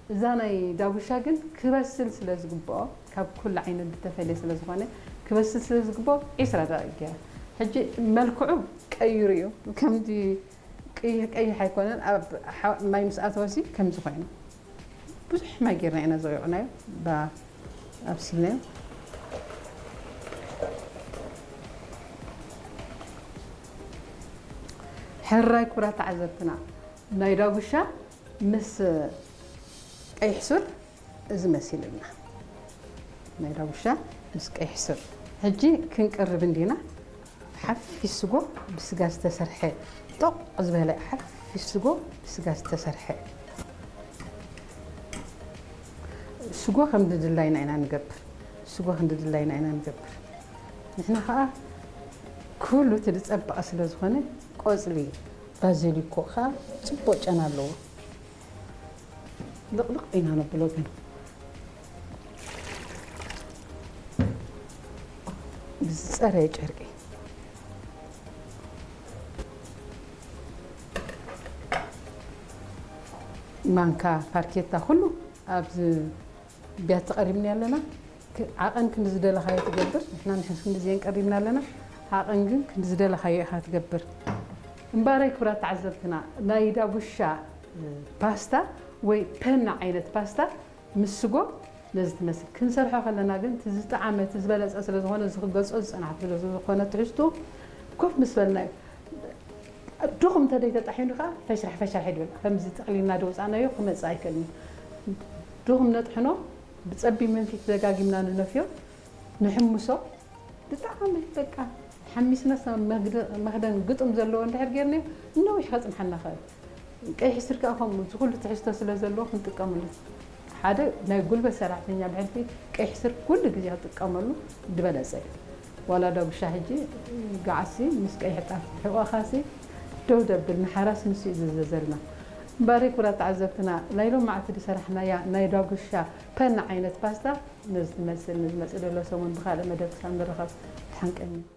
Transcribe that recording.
እዛ ናይ ዳጉሻ ግን ክበስል ስለ ዝግብኦ፣ ካብ ኩሉ ዓይነት ዝተፈልየ ስለ ዝኾነ፣ ክበስል ስለ ዝግብኦ ዒስራ ደቂቕ ገይረ። ሕጂ መልክዑ ቀይሩ እዩ። ከምዚ ቀይሕ ቀይሕ ኣይኮነን። ኣብ ሓ-፣ ማይ ምስ ኣተወሲ ከምዚ ኮይኑ። ብዙሕ ማይ ጌርና ኢና ዘውዕናዮ፣ ባ-፣ ኣብሲልናዮ። ሕራይ ክቡራት ተዓዘብትና፣ ናይ ዳጉሻ ምስ ቀይሕ ሱር እዚ መሲልና። ናይ ዳጉሻ ምስ ቀይሕ ሱር። ሕጂ ክንቅርብ እንዲና። ሓፊስ ስጎ ብስጋ ዝተሰርሐ፣ ጦቕ ዝበለ ሓፊስ ስጎ ብስጋ ዝተሰርሐ። ስጎ ከም ድላይና ኢና ንገብር። ስጎ ከም ድላይና ኢና ንገብር። ንሕና ኸኣ ኩሉ እቲ ዝጸበቐ ስለ ዝኾነ፣ ቆጽሊ ባዚሊኮ ኸኣ ጽቡቕ ጨና ኣለዎ። ልቕልቕ ኢና ነብሎ ግን ብዝጸረየ ጨርቂ። ማንካ፣ ፋርኬታ፣ ኩሉ ኣብዚ ቢያቲ ቀሪብና ኣለና። ክ-፣ ዓቐን ክንዲ ዝደለኻዮ ትገብር። ንሕና ንሕን ክንዲ ዘየን ቀሪብና ኣለና። ዓቐን ግን ክንዲ ዝደለኻዮ ኢኻ ትገብር። እምበኣረይ ክቡራት ተዓዘብትና፣ ናይ ዳጉሻ ፓስታ ወይ ፐና ዓይነት ፓስታ ምስ ስጎ ነዚ ትመስል። ክንሰርሖ ከለና ግን እቲ ዝጠዓመ፣ እቲ ዝበለጸ ስለ ዝኾነ፣ እዚ ክገልጾ ዝጸናሕኩ ስለ ዝኾነ ትሕዝቱ ኮፍ ምስ በልና እዩ። ድኹም እንተ ደይተጣሒኑ ከኣ ፈሽራሕ ፈሽራሕ ይብል። ከምዚ ጠቕሊልና ደውጻናዮ ክመጽእ ኣይክእልን እዩ። ድኹም ነጥሕኖ፣ ብጸቢብ መንፊት ደጋጊምና ንነፍዮ፣ ንሕምሶ። ብጣዕሚ በቃ ሓሚስናስ መግደ-፣ መኽደን ግጥም ዘለዎ እንድሕር ጌርናዮ፣ ነዊሕ ከጽንሓና ይኽእል። ቀይሕ ሱር ከኣ ከምኡ፣ እዚ ኩሉ ትሕዝቶ ስለ ዘለዎ ክንጥቀመሉ። ሓደ ናይ ጉልበት ሰራሕተኛ ብሕልፊ ቀይሕ ሱር ኩሉ ግዜ ክጥቀመሉ ዝበለጸ እዩ። ዋላ ዳጉሻ ሕጂ ገዓሲ ምስ ቀይሕ ጣፍ ሕቖኻሲ ደው ደብል፣ ንሓራስ ንሱ እዩ ዝእዘዘልና። እምበኣር ክቡራት ተዓዘብትና፣ ናይ ሎማዕቲ ዝሰራሕናያ ናይ ዳጉሻ ፐና ዓይነት ፓስታ ነዚ ትመስል። ንዝመጽእ ዘሎ ሰሙን ብኻልእ መደብ ክሳብ ንራኸብ፣ ተሓንቀኒ።